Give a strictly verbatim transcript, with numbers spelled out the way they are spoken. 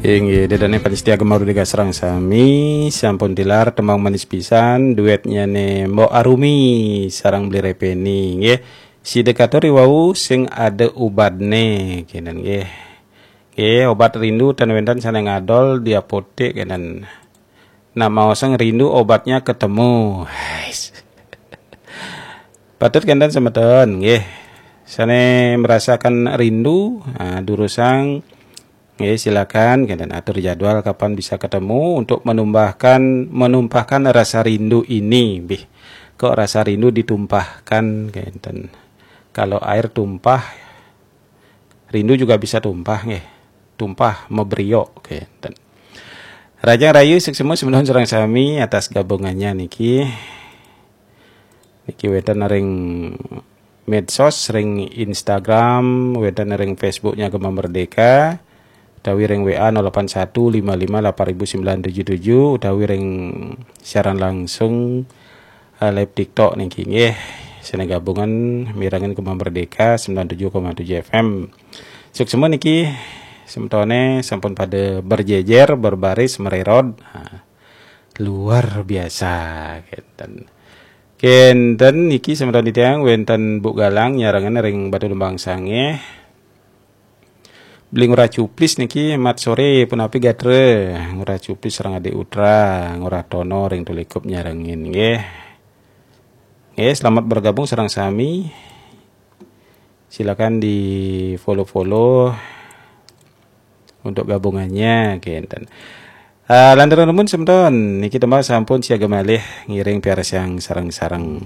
Inggih, ida dané pamiarsa Gema Merdeka sareng sami, sampun tilar tembang manis pisan, duetnya né Mbok Arumi sareng Bli Répeni, nggih. Sida katur riwau sing ada obatné, kénten nggih. Nggih, obat rindu ten wénten sané ngadol di apotek kénten. Nah, maosang rindu obatnya ketemu. Hais. Patut kénten semeton, nggih. Sané merasakan rindu, nah, durusang, nggih, silakan kénten atur jadwal kapan bisa ketemu untuk menumpahkan menumpahkan rasa rindu ini, nggih. Kok rasa rindu ditumpahkan, kénten. Kalau air tumpah, rindu juga bisa tumpah, nggih. Tumpah mebrio, kénten. Rahajeng rahayu, suksma semeton sareng sami atas gabungannya niki. Niki wénten ring medsos, ring Instagram, wénten ring Facebooknya Gema Merdeka, utawi ring W A nol delapan satu lima lima delapan ribu sembilan tujuh tujuh, utawi ring siaran langsung, eh, live TikTok niki nggih. Sané gabungan mirengin Gema Merdeka sembilan tujuh koma tujuh F M. Suksma niki semetoné sampun pada berjejer, berbaris, mererod. Nah, luar biasa, kénten. Kénten niki semeton titiang wénten Bu Galang nyarengin ring Batu Lembang Sangeh. Beli Ngurah Cuplis niki mat soré punapi gatra. Ngurah Cuplis sareng Adik Utra, Ngurah Tono ring Tulikup nyarengin nggih. Nggih, selamat bergabung sareng sami. Silakan di follow-follow untuk gabungannya, kénten. Ah, lanturang nunas semeton, niki tembang sampun siaga malih ngiring piarsayang sareng-sareng.